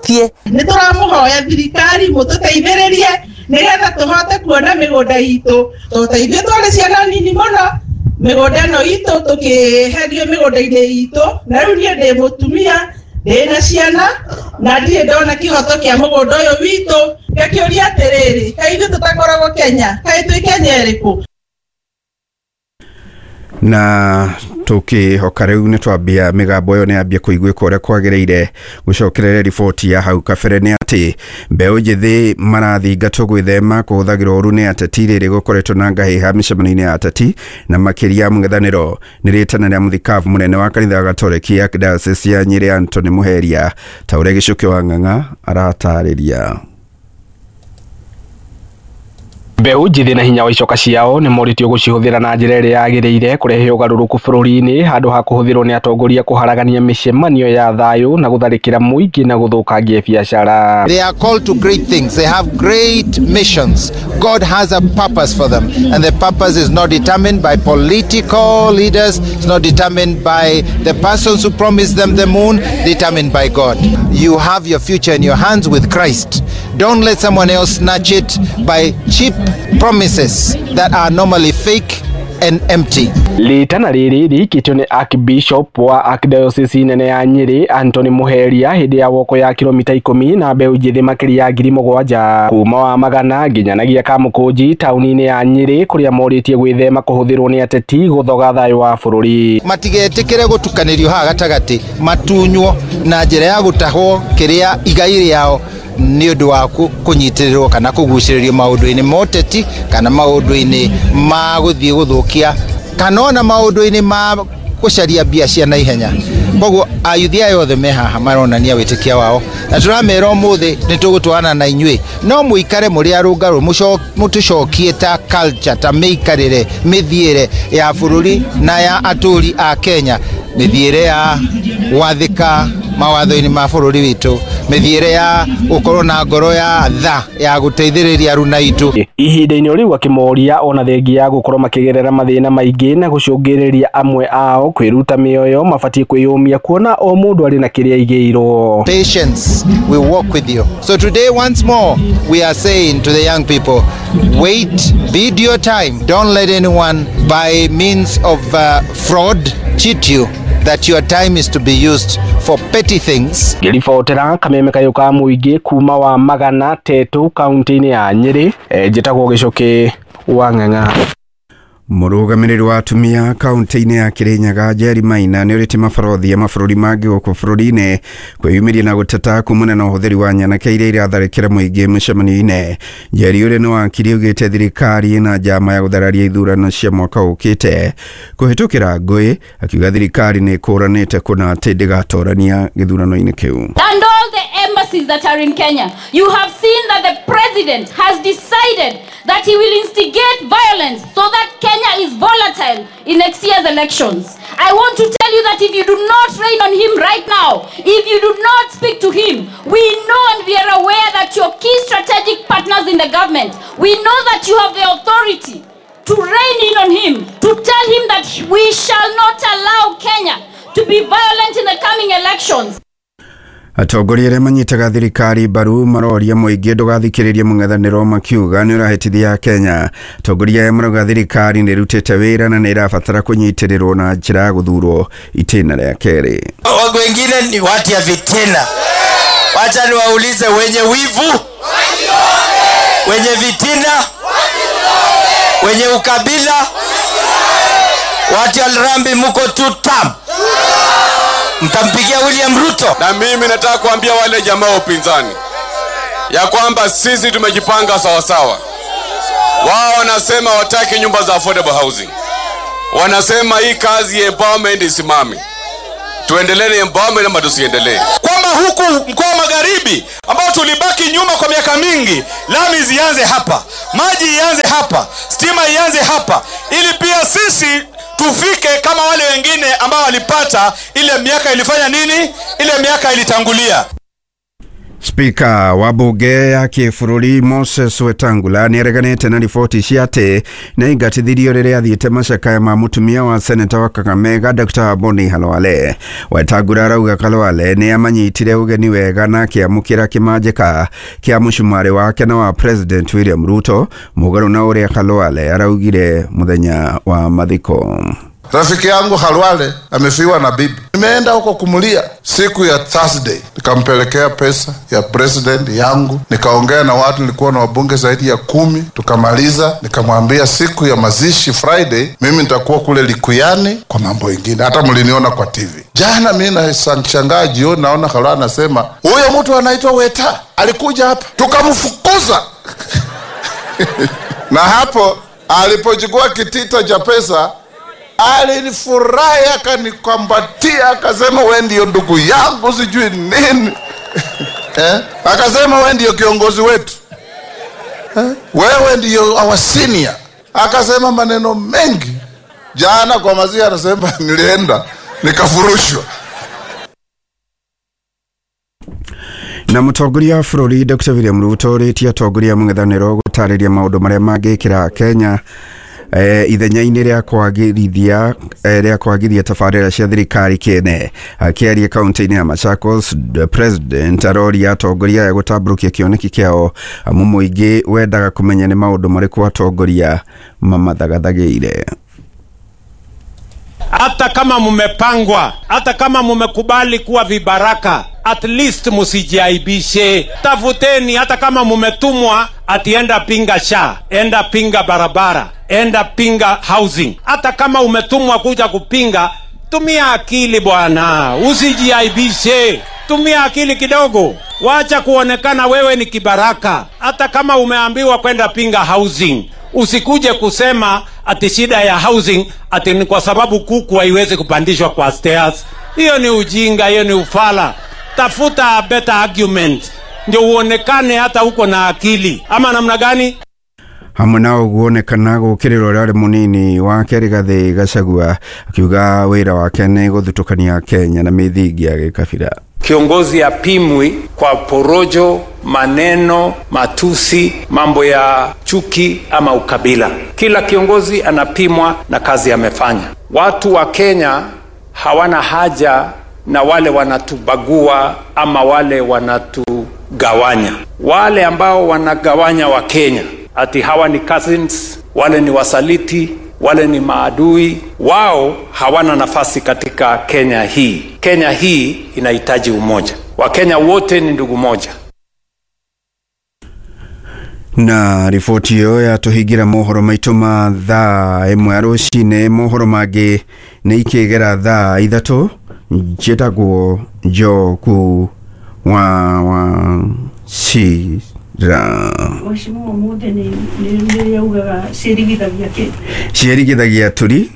Nĩ tũramũhoya thirikari mũtũteithĩrĩrie nĩgetha tũhote kuona mĩgũnda itũ, tondũ ta ithuĩ twarĩ ciana nini mũno mĩgũnda ĩno itũ tũkĩherio mĩgũnda-inĩ itũ, na rĩu niĩ ndĩ mũtumia ndĩna ciana na ndirĩ ndona kĩhoto kĩa mũgũnda ũyũ witũ. Ngakĩũria atĩrĩrĩ, kaĩ ithuĩ tũtakoragwo Kenya? Kaĩ twĩ Kenya ĩrĩkũ? Na tukihoka riu ni twambia migambo iyo ni ambia kuiguika uria kwagiriire. Gucokerere riboti ya hau kabere ni ati mbeũ njĩthĩ marathingatwo gwĩthema kũhũthagĩrwo ũru nĩ ateti rĩrĩ gũkoretwo na ngahĩha mĩcemanio-inĩ ya ateti na makĩria mũng'ethanĩro. Nĩ rĩtana rĩa mũthikabu mũnene wa kanitha wa Gatoreki ya Diocese ya Nyĩrĩ Anthony Muheria, ta ũrĩa Gĩcũkĩ wa Ng'ang'a aratarĩria. Mbeũ njĩthĩ na hinya wa icoka ciao nĩ morĩtio gũcihũthĩra na njĩra ĩrĩa yagĩrĩire kũrehe ũgarũrũku bũrũri-inĩ handũ ha kũhũthĩrwo nĩ atongoria kũharagania mĩcemanio ya thayũ na gũtharĩkĩra mũingĩ na gũthũkangia biacara. They are called to great things. They have great missions. God has a purpose for them, and the purpose is not determined by political leaders. It's not determined by the persons who promised them the moon, determined by God. You have your future in your hands with Christ. Don't let someone else snatch it by cheap promises that are normally fake and empty. Rĩtana rĩrĩ rĩikĩtio nĩ Archbishop wa Archdiocese nene ya Nyĩrĩ Anthony Muheria hĩndĩ ya woko ya kilomita 10 na mbeũ njĩthĩ makĩria ya 7,000 kuma wa Magana nginyanagia Kamũkũnji taũni-inĩ ya Nyĩrĩ kũrĩa morĩtie gwĩthema kũhũthĩrwo nĩ ateti gũthoga thayũ wa bũrũri. Matigetĩkĩre gũtukanĩrio haha gatagatĩ, matunywo na njĩra ya gũtahwo kĩrĩa igai rĩao nĩ ũndũ wa kũnyitĩrĩrwo kana kũgucĩrĩrio maũndũ-inĩ ma ũteti kana maũndũ-inĩ ma gũthiĩ gũthũkia kana ona maũndũ-inĩ ma gũcaria mbia cia naihenya. Koguo ayuthi aya othe me haha maronania wĩtĩkia wao, na tũramera ũmũthĩ nĩ tũgũtwarana na inyuĩ, no mũikare mũrĩ arũngarũ, mũtũcokie ta culture, ta mĩikarĩre, mĩthiĩre ya bũrũri na ya atũri a Kenya, mĩthiĩre ya gwathĩka mawatho-inĩ ma bũrũri witũ, mĩthiĩre ya gũkorwo na ngoro ya tha ya gũteithĩrĩria aruna aitũ. Ihinda-inĩ rĩu akĩmoria ona thengia ya gũkorwo makĩgerera mathĩna maingĩ na gũcũngĩrĩria amwe ao kwĩruta mĩoyo mabatiĩ kwĩyũmia kuona o mũndũ arĩ na kĩrĩa aigĩirwo. Patience, we walk with you. So today once more we are saying to the young people, wait, bid your time. Don't let anyone by means of fraud cheat you that your time is to be used for petty things. Ngĩribotera kameme kayũ ka mũingĩ kuma wa Magana Tetu kaunti-inĩ ya Nyĩrĩ, njĩtagwo Gĩcũkĩ wa Ng'ang'a. Mũrũgamĩrĩri wa atumia kaunti-inĩ ya Kirinyaga Jerry Maina nĩ ũrĩte mabarothi a mabũrũri mangĩ gũkũ bũrũri-inĩ kwĩyumĩria na gũteta kumana na ũhũthĩri wa nyanake iria iratharĩkĩra mũingĩ mĩcemanio-inĩ. Jerry ũrĩa nĩ wakiri augĩte thirikari na njama ya gũthararia ithurano cia mwaka ũkĩte kũhĩtũkĩra ngũĩ, akiuga thirikari nĩ ĩkũranĩte kũna atĩ ndĩgatorania gĩthurano-inĩ kĩu. And all the embassies that are in Kenya, you have seen that the president has decided that he will instigate violence so that Kenya is volatile in next year's elections. I want to tell you that if you do not rain on him right now, if you do not speak to him, we know and we are aware that your key strategic partners in the government, we know that you have the authority to rein in on him, to tell him that we shall not allow Kenya to be violent in the coming elections. Atongoria arĩa manyitaga thirikari mbaru maroria mũingĩ ndũgathikĩrĩrie mũng'ethanĩro makiuga nĩ ũrahĩtithia Kenya. Atongoria aya marauga thirikari nĩ ĩrutĩte wĩra na nĩ ĩrabatara kũnyitĩrĩrwo na njĩra ya gũthurwo itĩna rĩa kerĩ. Wengine ni watu ya fitina. Wacha niwaulize, wenye wivu, wenye fitina, wenye ukabila, watu ya Rambi, muko tutam, mtampigia William Ruto? Na mimi nataka kuambia wale jamaa wa upinzani ya kwamba sisi tumejipanga sawasawa. Wao wanasema wataki nyumba za affordable housing, wanasema hii kazi ya empowerment isimame. Tuendelee na empowerment ama tusiendelee? Kwamba huku mkoa wa Magharibi ambao tulibaki nyuma kwa miaka mingi, lami zianze hapa, maji ianze hapa, stima ianze hapa, ili pia sisi tufike kama wale wengine ambao walipata ile miaka ilifanya nini, ile miaka ilitangulia. Spika wa bunge ya kĩbũrũri Moses Wetangula nĩareganĩte na riboti cia atĩ nĩaingatithirio rĩrĩa athiĩte macakaya ma mũtumia wa seneta wa Kakamega Dr. Boni Khalwale. Wetangula arauga Khalwale nĩamanyitire ũgeni wega na akĩamũkĩra kĩmanjĩka kĩa mũcumarĩ wake na wa President William Ruto mũgarũ na ũrĩa Khalwale araugire mũthenya wa mathiko. Rafiki yangu Khalwale amefiwa na bibi. Nimeenda huko kumulia siku ya Thursday, nikampelekea pesa ya president yangu, nikaongea na watu, nilikuwa na wabunge zaidi ya 10, tukamaliza. Nikamwambia siku ya mazishi Friday mimi nitakuwa kule Likuyani kwa mambo ingine, hata mliniona kwa TV. Jana mimi nashangaa jioni, naona Khalwale anasema huyo mtu anaitwa Weta alikuja hapa, tukamfukuza. Na hapo alipochukua kitita cha pesa alinifurahi, akanikumbatia, akasema wewe ndio ndugu yangu, sijui nini. Akasema wewe ndio kiongozi wetu, wewe ndio our senior. Akasema maneno mengi. Jana kwa mazia anasema nilienda nikafurushwa. Na mũtongoria wa bũrũri Dr. William Ruto ũrĩtie atongoria mũng'ethanĩro gũtarĩria maũndũ marĩa mangĩkĩra Kenya ithenya-inĩ rĩa kwagithia tabarĩra cia thirikari kĩene. Akĩaria kaunti-inĩ ya Machakos, the president aroria atongoria aya gũtambũrũkia kĩoneki kĩao amu mũingĩ wendaga kũmenya nĩ maũndũ marĩkũ atongoria mamathagathagĩire. Hata kama mumepangwa, hata kama mumekubali kuwa vibaraka, at least musijiaibishe. Tafuteni, hata kama mumetumwa ati enda pinga SHA, enda pinga barabara, enda pinga housing. Hata kama umetumwa kuja kupinga, tumia akili bwana, usijiaibishe. Tumia akili kidogo. Wacha kuonekana wewe ni kibaraka. Hata kama umeambiwa kwenda pinga housing, usikuje kusema ati shida ya housing ati ni kwa sababu kuku haiwezi kupandishwa kwa stairs. Hiyo ni ujinga, hiyo ni ufala. Tafuta better argument ndio uonekane hata uko na akili. Ama namna gani? Hamwe na ũguo onekana gũkĩrĩrwo ũrĩa arĩ mũnini wake Rigathĩ Gachagua akiuga wĩra wake nĩ gũthutũkania Kenya na mĩthingi ya gĩkabira. Kiongozi apimwi kwa porojo, maneno, matusi, mambo ya chuki ama ukabila. Kila kiongozi anapimwa na kazi amefanya. Watu wa Kenya hawana haja na wale wanatubagua ama wale wanatugawanya. Wale ambao wanagawanya wa Kenya, ati hawa ni cousins, wale ni wasaliti, wale ni maadui, wao hawana nafasi katika Kenya hii. Kenya hii inahitaji umoja. Wakenya wote ni ndugu moja. Na riboti ĩyo yatũhingĩra mohoro maitũ ma thaa 1 ya rũcinĩ. Mohoro mangĩ nĩ ikĩgera thaa 3. Njĩtagwo Njoku wa Cira. Mheshimiwa mũthĩ nĩ yaugaga ciĩrigithagia kĩ? Ciĩrigithagia tũri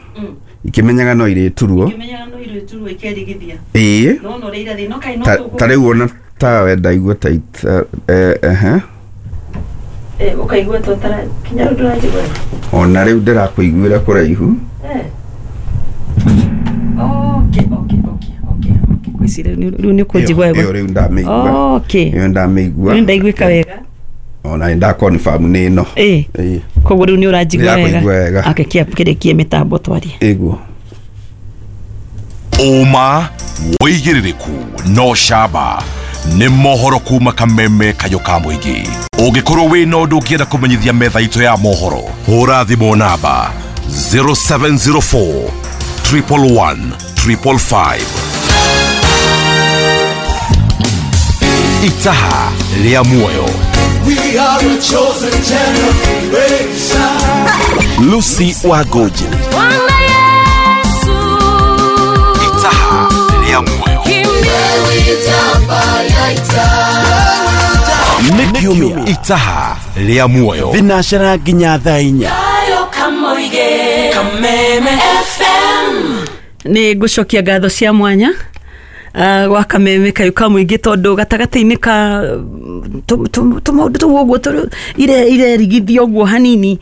ikĩmenyaga no irĩturwo, ikĩmenyaga no irĩturwo ikerigithia. Ĩĩ no no rĩira thĩ no kaĩ no tũkũ ta rĩu ona tawe ndaigua ta ukaigua ta tara kinya rĩu ndũranjigua. Ona rĩu ndĩrakũiguĩra kũraihu. Okay. Ngwĩciria rĩu nĩ ũkũnjigua wega. Ĩyo rĩu ndamĩigua. Okay. Ĩyo ndamĩigua. Rĩu ndaiguĩka wega. Ona nda confirm nĩ ĩno. Ĩĩ. Koguo rĩu nĩ ũranjigua wega. Ake kĩrĩkie mĩtambo twarie. Ĩguo. Ũma wĩigĩrĩrĩku no camba nĩ mohoro kuma Kameme Kayũ ka mũingĩ. Ũngĩkorwo wĩna ũndũ ũngĩenda kũmenyithia metha itũ ya mohoro, hũra thimũ namba 0704 111 555. Itaha rĩa muoyo. We are a chosen generation. Lucy Wagoji. Itaha rĩa muoyo. Nĩ kiumia Itaha rĩa muoyo. Thinacera nginya thaa 4. Kameme FM. Nĩ ngũcokia ngatho cia mwanya gwa Kameme Kayũ ka mũingĩ tondũ gatagatĩ-inĩ ka tũmaũndũ tũu ũguo irerigithio ũguo hanini,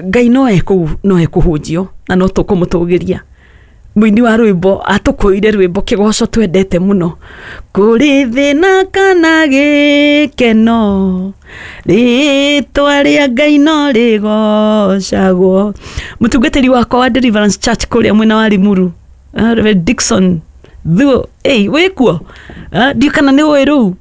Ngai no ekũhunjio na no tũkũmũtũgĩria. Mũini wa rwĩmbo atũkũire rwĩmbo kĩgoco twendete mũno. Kũrĩ thĩna kana gĩkeno, rĩtwa rĩa Ngai no rĩgocagwo. Mũtungatĩri wakwa wa Deliverance Church kũrĩa mwena wa Limuru, Reverend Dickson Thuo, ei wĩkuo? Ndiũ kana nĩ ũĩ rũu.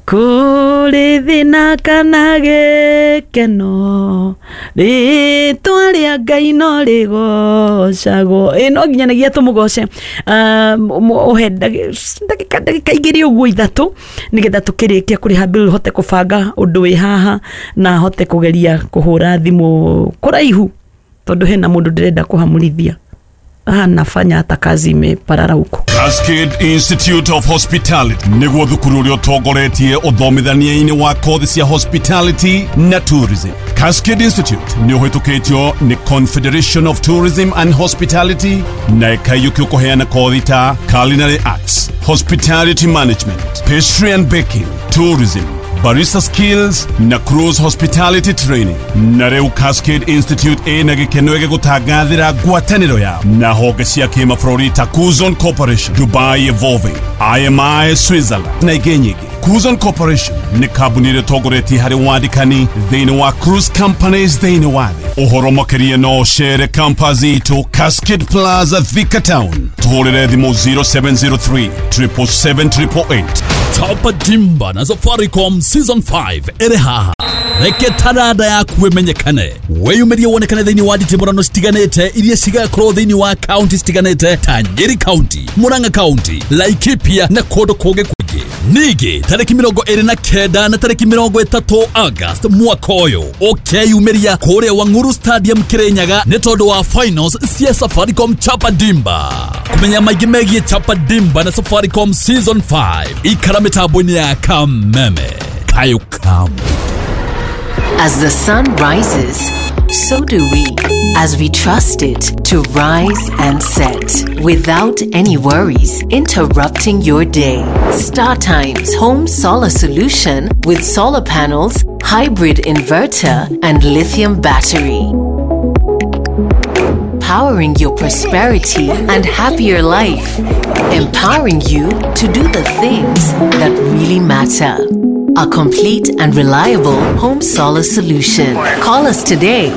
Kũrĩ thĩna kana gĩkeno, rĩtwa rĩa Ngai no rĩgocagwo. Ĩ no nginyanagia tũmũgoce. Ũhe ndagĩka 2 ũguo 3 nĩgetha tũkĩrĩkia kũrĩha bill, hote kũbanga ũndũ wĩ haha na hote kũgeria kũhũra thimũ kũraihu tondũ hena mũndũ ndĩrenda kũhamũrithia. Anafanya hata kazi imeparara huko. Cascade Institute of Hospitality nĩguo thukuru ũrĩa ũtongoretie ũthomithania-inĩ wa kothi cia hospitality na tourism. Cascade Institute nĩ ũhĩtũkĩtio nĩ Confederation of Tourism and Hospitality na ĩkaiyũkio kũheana kothi ta culinary arts, hospitality management, pastry and baking, tourism, barista skills na cruise hospitality training. Na rĩu Cascade Institute ĩna gĩkeno gĩgũtangathĩra ngwatanĩro yao na honge cia kĩmabũrũri ta Kuzon Corporation, Dubai Evolving, IMI Switzerland na ingĩ nyingĩ. Kuzon Corporation nĩ kambuni ĩrĩa ĩtongoretie harĩ wandĩkani thĩinĩ wa cruise companies thĩinĩ wa thĩ. Ũhoro makĩria no ũcere campus itũ Cascade Plaza, Thika Town. Tũhũrĩre thimũ 0703 777 888. Chapa Dimba na Safaricom Season 5 ĩrĩ haha. Reke taranda yaku ĩmenyekane, wĩyumĩrie wonekane thĩinĩ wa nditimũrano citiganĩte iria cigakorwo thĩinĩ wa kaunti citiganĩte ta Nyeri County, Murang'a County, Laikipia na kũndũ kũngĩ kũingĩ. Ningĩ tarĩki 29 na tarĩki 30 August mwaka ũyũ ũkeyumĩria kũrĩa Wang'uru Stadium Kirinyaga nĩ tondũ wa finals cia Safaricom Chapa Dimba. Kũmenya maingĩ megiĩ Chapa Dimba na Safaricom Season 5 ikara mĩtambo-inĩ ya Kameme Kayukamu. As the sun rises, so do we, as we trust it to rise and set without any worries interrupting your day. Star Times Home Solar Solution with solar panels, hybrid inverter, and lithium battery. Powering your prosperity and happier life. Empowering you to do the things that really matter. A complete and reliable home solar solution. Call us today.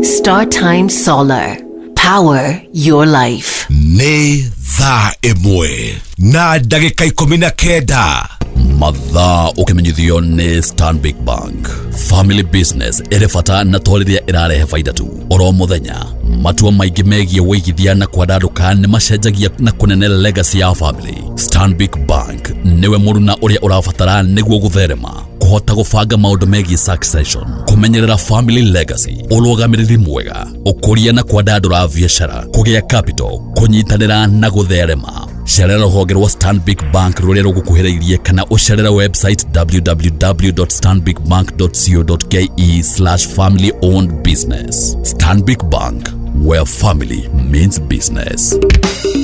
Star Times Solar. Power your life. Nĩ thaa 1 na ndagĩka 19. Mathaa ũkĩmenyithio nĩ Stanbic Bank. Family business ĩrĩ bata na to rĩrĩa ĩrarehe baida tu. Oro mũthenya matua maingĩ megiĩ wĩigithia na kwandandũka nĩ macenjagia na kũnene legacy ya family. Stanbic Bank nĩwe mũruna ũrĩa ũrabatara nĩguo gũtherema, kũhota gũbanga maũndũ megiĩ succession, kũmenyerera family legacy, ũrũgamĩrĩri mwega, ũkũria na kwandandũra biacara, kũgĩa capital, kũnyitanĩra na gũtherema. Cerera rũhonge rwa Stanbic Bank rũrĩa rũgũkuhĩrĩirie kana ũcerere website www.stanbicbank.co.ke/family owned business. Stanbic Bank, where family means business.